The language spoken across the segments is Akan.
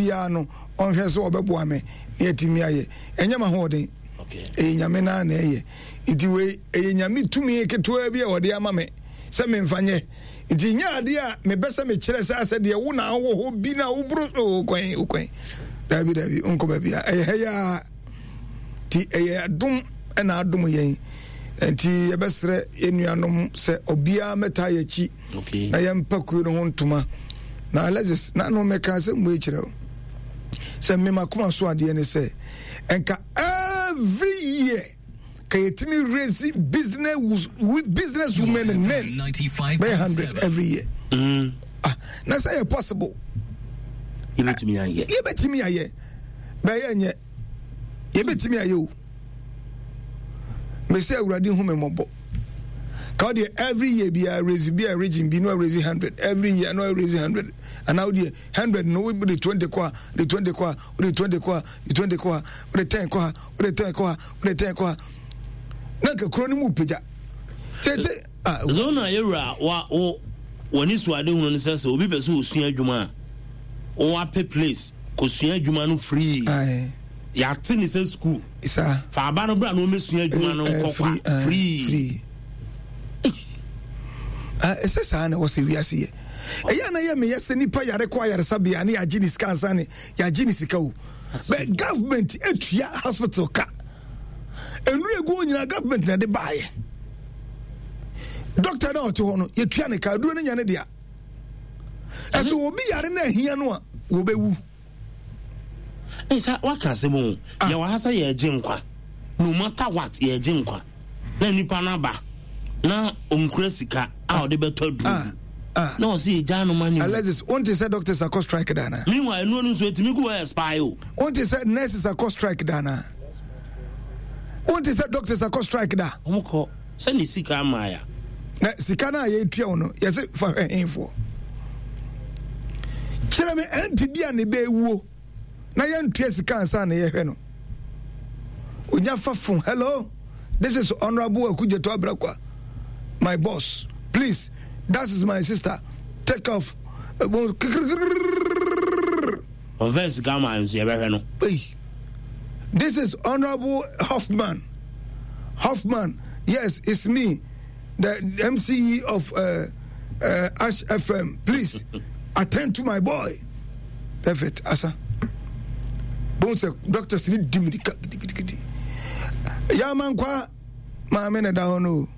Biara no ɔnhwɛ sɛ ɔbɛboa me na yɛatumi ayɛ. Ɛnyɛ m'ahoɔden, ɛyɛ Nyame no ara na ɛyɛ. Nti wei ɛyɛ Nyame tumi ketewa bi a ɔde ama me sɛ memfa nyɛ. Nti nyɛ adeɛ a mebɛ sɛ mekyerɛ sɛ asɛ deɛ wo na wowɔ hɔ bi na woboro oh, kwan oh, kwan. Daabi daabi, wonkɔ baabi a ɛyɛ ha yi ara. Nti ɛyɛ adom ɛna adom yɛn. Nti yɛbɛsrɛ yɛn nuanom sɛ obiara mmɛtaa yɛn akyi. Okay. Na yɛmpa kuo no ho ntoma. Na Alexis, na no mɛka asɛm wei kyerɛ wo. Sɛ me makoma so adeɛ ne sɛ, ɛnka every year ka yɛtumi raise business business women and men bɛyɛ 100 every year. Ah, na sɛ yɛ possible. Yɛbɛtumi ayɛ. Yɛbɛtumi ayɛ. Bɛyɛ nyɛ. Yɛbɛtumi ayɛ o. Mese Awurade hu me mmɔbɔ. Ka wo deɛ every year biara raise bi a region bi no raise 100 every year no raise 100 anaa wo deɛ 100 no wo de 20 kɔ a de 20 kɔ a wo de 20 kɔ a de 20 kɔ a wo de 10 kɔ a wo de 10 kɔ a wo de 10 kɔ a na nka kuro no mu pagya tete. Ah, Zona yɛwura wa wo w'ani so ade hunu no sɛ sɛ obi pɛ sɛ osua adwuma a wapɛ place kosua adwuma no free. Yɛate ne sɛ sukuu. Saa. Fa aba no bra na ɔmmɛsua adwuma no nkɔ kwa. Free. Free. Ɛsɛ saa na ɛwɔ sɛ wiase yɛ. Ɛyɛ na yɛ meyɛ sɛ nipa yare kɔ ayaresabea ne yɛagye ne sika ansa ne yɛagye ne sika o. But government atua hospital ka. Nnuru egu hɔ nyinaa government na ɛde baayɛ. Doctor na ɔte hɔ no yɛtua ne ka aduro no nya ne dea. Ɛso obi yare na ahia no a wɔbɛwu. Ei sa waka asɛm o. Ah. Yɛwɔ ha sɛ yɛregye nkwa. No matter what yɛregye nkwa. Na nipa no aba na ɔnkura sika a ɔde bɛtɔ aduro bi. Ah. Na ɔsɛ yɛgyaa no ma ne. Alexis, wonte sɛ doctors akɔ strike da anaa? Meanwhile, ɛnoɔ no nso ɛtumi gu hɔ expire o. Wonte sɛ nurses akɔ strike da anaa? Wonte sɛ doctors akɔ strike da? Wɔn kɔ sɛ ne sika ama ya. Na sika no a yɛtua wo no yɛse fa hwɛ hefoɔ? Kyerɛ me ɛnti bi a ne bɛwuo na yɛntua sika ansa na yɛhwɛ no. Onya fa phone, hello, this is Honorable Okudzeto Ablakwa, my boss, please, that is my sister, take off. Ɔmfa sika ma nso yɛbɛhwɛ no. Hey, this is Honorable Hoffman. Hoffman, yes, it's me, the MCE of Ash FM. Please attend to my boy. Perfect, Asa. Bones, doctors need dimini. Yamankwa, maame na ɛda hɔ no o.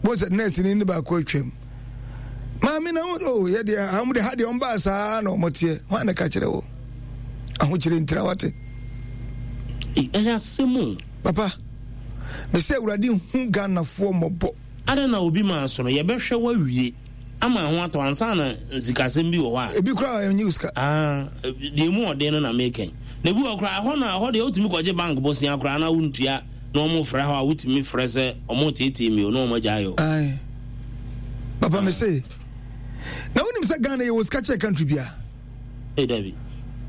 Bohu sɛ nurse ni ne baako atwam. Maame na o oh, yɛ deɛ ha de ha deɛ ɔmbaa saa na ɔmo teɛ. Hwan na ka kyerɛ wo? Ahokyere ntira wate. Ɛyɛ asɛm o. Papa, mesɛ Awurade hu Ghanafoɔ mmɔbɔ. Adɛn na obi maa so no yɛbɛhwɛ wawie ama ho atɔ ansa na nsikasɛm bi wɔ hɔ a. Ebi koraa ɛnyi sika. Ah, deɛ emu ɔden no na meka yi. Na ebi wɔ koraa ɛhɔ na ɛhɔ deɛ wotumi kɔgye bank bosea koraa na wontua na wɔn frɛ hɔ a wotumi frɛ sɛ wɔn teetee mi o na wɔn agya ayɛ o. Ayi. Papa me se na wonim sɛ Ghana yɛ wɔ sika kyɛ country bia. Ee dabi.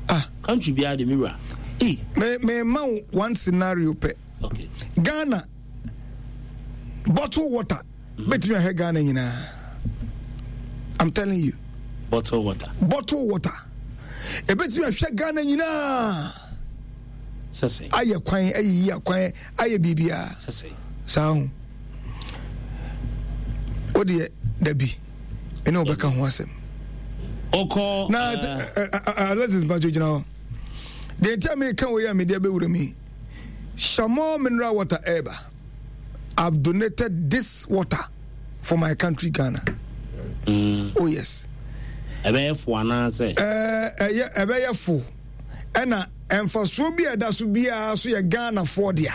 Ah. Country bia de me wura. Ee. Me me ma one scenario pɛ. Okay. Ghana bottle water bɛtumi ahwɛ Ghana nyinaa. I'm telling you. Bottle water. Bottle water. Ebetumi ahwɛ Ghana nyinaa. Sɛsɛ. Ayɛ kwan, ayiyi akwan, ayɛ biribiara. Sɛsɛ. Saa ho. O deɛ dabi ɛne wɔbɛka ho asɛm. Ɔkɔ. Na Alexis Mpacho gyina hɔ. Deɛ nti a meka wei a mede abɛwura mu yi. Shamor mineral water ɛɛba. I've donated this water for my country Ghana. Oh yes. Ɛbɛyɛ fo anaasɛ? Ɛyɛ ɛbɛyɛ fo. Ɛna mfasoɔ bi a ɛda so biara so yɛ Ghanafoɔ dea.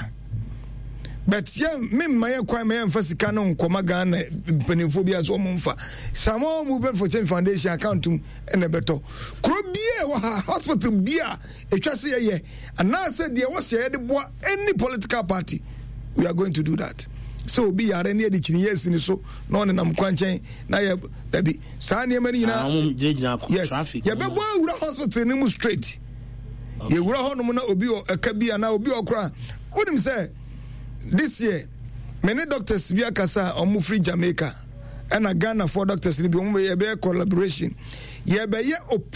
But yɛn memma yɛn kwan ma yɛmfa sika no nkɔma Ghana mpanimfoɔ bi a so wɔn mfa. Samoa Movement for Change Foundation account mu ɛna ɛbɛtɔ. Kuro biara ɛwɔ ha, hospital bi a ɛtwa sɛ yɛyɛ anaasɛ deɛ ɛwɔ sɛ yɛde boa any political party, we are going to do that. Sɛ obi yare ne yɛde kyiniiɛ asi ne so na ɔnenam kwankyɛn na yɛ dabi saa nneɛma no nyinaa yes yɛbɛbɔ awura hospital no mu straight. Yɛwura hɔnom na obi wɔ ɛka bi anaa obi wɔ koraa wonim sɛ this year me ne doctors bi akasa a wɔn firi Jamaica ɛna Ghana for doctors no bi wɔn bɛyɛ collaboration yɛbɛyɛ operation.